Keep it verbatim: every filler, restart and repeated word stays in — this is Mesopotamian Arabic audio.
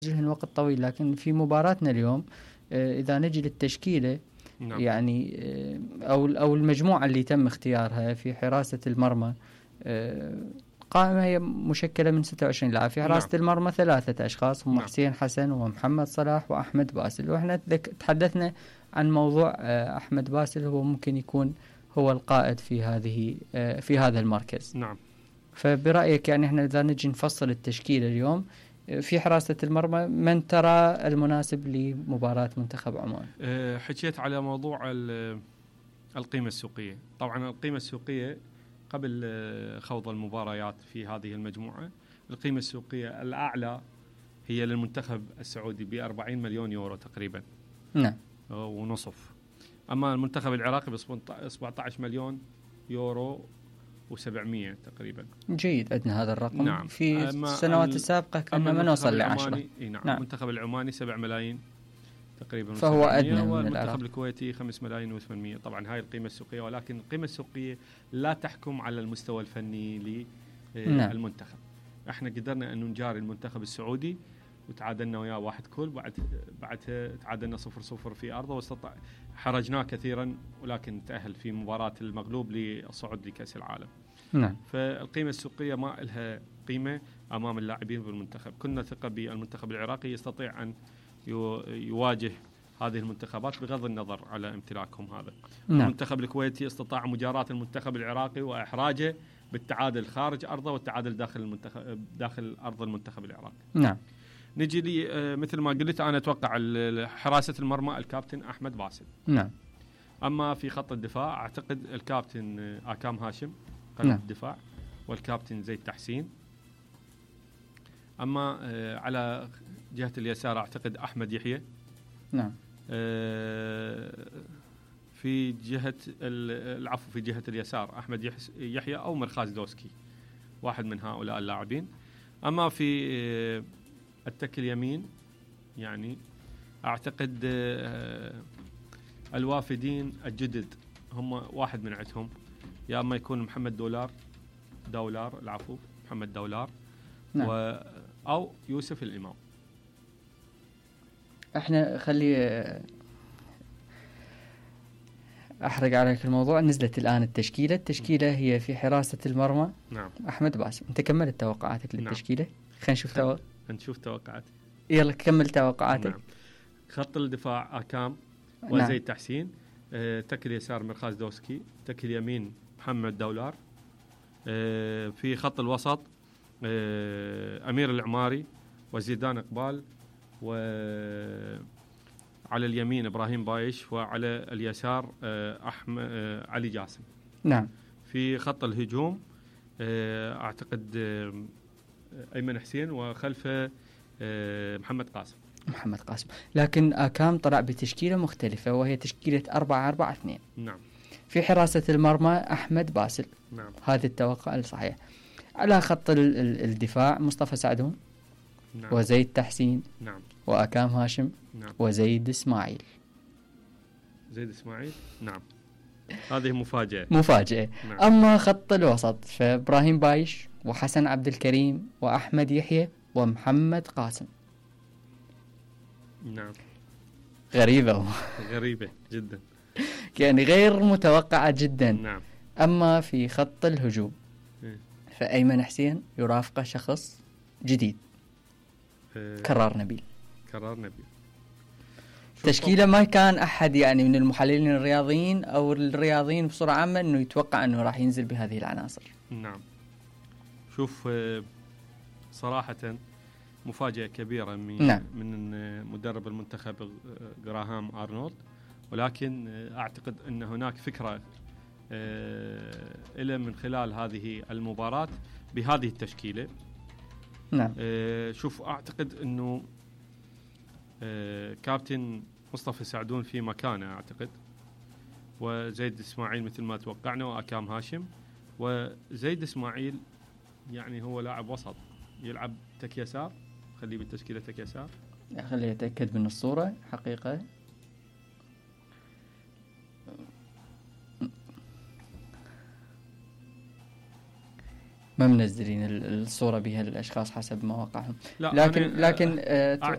لهن وقت طويل، لكن في مباراتنا اليوم إذا نجي للتشكيلة نعم. يعني أو أو المجموعة اللي تم اختيارها في حراسة المرمى، قائمة هي مشكلة من ستة وعشرين لاعب. في حراسة نعم. المرمى ثلاثة أشخاص هم نعم. حسين حسن ومحمد صلاح وأحمد باسل، وإحنا تحدثنا عن موضوع أحمد باسل، هو ممكن يكون هو القائد في هذه في هذا المركز نعم. فبرأيك يعني إحنا إذا نجي نفصل التشكيلة اليوم في حراسة المرمى، من ترى المناسب لمباراة منتخب عمان؟ أه حكيت على موضوع القيمة السوقية. طبعا القيمة السوقية قبل خوض المباريات في هذه المجموعة، القيمة السوقية الأعلى هي للمنتخب السعودي بأربعين مليون يورو تقريبا نعم ونصف. أما المنتخب العراقي بسبعة عشر مليون يورو وسبعمية تقريبا. جيد، عندنا هذا الرقم نعم. في السنوات السابقة كنا ما نوصل لعشرة. نعم. نعم. المنتخب العماني سبع ملايين تقريبا، فهو أدنى من والمنتخب الكويتي خمس ملايين وثمانمية. طبعا هاي القيمة السوقية، ولكن القيمة السوقية لا تحكم على المستوى الفني للمنتخب. نعم. احنا قدرنا أن نجاري المنتخب السعودي وتعادلنا وياه واحد كل، بعد بعدها تعادلنا صفر صفر في أرضه، واستطاع حرجناه كثيرا، ولكن تأهل في مباراة المغلوب للصعود لكأس العالم. نعم. فالقيمة السوقية ما لها قيمة أمام اللاعبين بالمنتخب. كنا ثقة بالمنتخب العراقي يستطيع أن يواجه هذه المنتخبات بغض النظر على امتلاكهم هذا. نعم. المنتخب الكويتي استطاع مجاراة المنتخب العراقي وإحراجه بالتعادل خارج أرضه والتعادل داخل المنتخب داخل أرض المنتخب العراقي. نعم. نجي لي مثل ما قلت أنا أتوقع حراسة المرمى الكابتن أحمد باسل. نعم. أما في خط الدفاع أعتقد الكابتن آكام هاشم قلب نعم. الدفاع، والكابتن زيد تحسين. أما على جهة اليسار أعتقد أحمد يحيى. نعم. في جهة العفو في جهة اليسار أحمد يحيى أو مرخاز دوسكي، واحد من هؤلاء اللاعبين. أما في التك اليمين يعني أعتقد الوافدين الجدد هم واحد من عندهم، يا أما يكون محمد دولار دولار العفو محمد دولار نعم. و أو يوسف الإمام. احنا خلي احرق عليك الموضوع. نزلت الآن التشكيلة التشكيلة هي في حراسة المرمى نعم. أحمد باسل. انت كملت توقعاتك للتشكيلة؟ نعم. خلينا نشوف تو... نشوف توقعات. يلا كمل توقعاتك. نعم. خط الدفاع آكام وزيد نعم. تحسين. اه تك اليسار مرخاز دوسكي، تك اليمين محمد دولار. اه في خط الوسط اه أمير العماري وزيدان إقبال، وعلى اليمين إبراهيم بايش، وعلى اليسار اه أحمد اه علي جاسم. نعم. في خط الهجوم اه أعتقد اه أيمن حسين، وخلفه اه محمد قاسم. محمد قاسم. لكن آكام طلع بتشكيلة مختلفة وهي تشكيلة أربعة أربعة اثنين. نعم. في حراسة المرمى أحمد باسل. نعم. هذا التوقع الصحيح. على خط الدفاع مصطفى سعدون. نعم. وزيد تحسين. نعم. وآكام هاشم. نعم. وزيد إسماعيل. زيد إسماعيل. نعم. هذه مفاجأة. مفاجأة. نعم. أما خط الوسط فإبراهيم بايش وحسن عبد الكريم وأحمد يحيى ومحمد قاسم. نعم. غريبة. غريبة جدا. يعني غير متوقعة جدا. نعم. أما في خط الهجوم فأيمن حسين يرافقه شخص جديد. أه كرار نبيل. كرار نبيل. تشكيلة ما كان أحد يعني من المحللين الرياضيين أو الرياضيين بصورة عامة أنه يتوقع أنه راح ينزل بهذه العناصر. نعم. شوف صراحة مفاجأة كبيرة من نعم. من مدرب المنتخب غراهام أرنولد، ولكن أعتقد أن هناك فكرة إلى من خلال هذه المباراة بهذه التشكيلة. نعم. شوف أعتقد أنه كابتن مصطفى سعدون في مكانه أعتقد، وزيد إسماعيل مثل ما توقعنا، وآكام هاشم. وزيد إسماعيل يعني هو لاعب وسط يلعب تك يسار، خليه بالتشكيلة تك يسار. خليه يتأكد من الصورة حقيقة. ما منزلين الصورة بها الأشخاص حسب مواقعهم، لكن لكن آه